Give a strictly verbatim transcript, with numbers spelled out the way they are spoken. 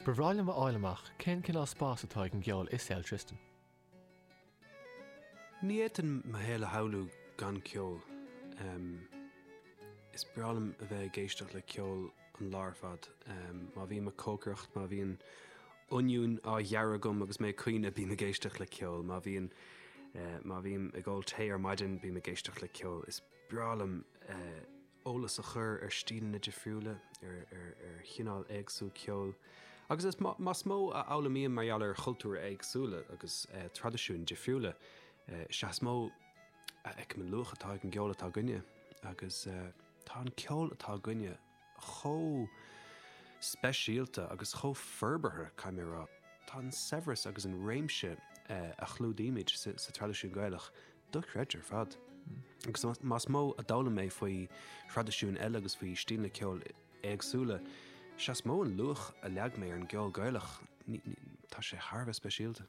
Ba bhreá liom a fháil amach cén cineál spás atá ag an gceol i saol Tristan. Ní fhéadfainn mo shaol a shamhlú gan ceol. Is breá liom a bheith ag éisteacht le ceol an lá ar fad. Má bhím ag cócaireacht, má bhíonn oinniún á ghearradh agam agus mé ag caoineadh, bím ag éisteacht le ceol. Má bhíonn má bhím ag ól tae ar maidin, bím ag éisteacht le ceol. Is breá liom eolas a chur ar stíleanna difriúla, ar ar chineál éagsúil ceoil. Agus is más mó a fhoghlaimím mar gheall ar chultúir éagsúla agus traidisiúin difriúla, is ea is mó a fheicim an luach atá ag an gceol atá againne. Agus tá an ceol atá againne chomh speisialta agus chomh forbartha, caithfidh mé a rá. Tá an saibhreas agus an réimse a chlúdaímid sa traidisiún Gaelach dochreidte ar fad. Agus más mó a d'fhoghlaim mé faoi thraidisiúin eile agus faoi stíleanna ceoil éagsúla, is ea is mó an luach a leag mé ar an gceol Gaelach. Tá sé thar a bheith speisialta.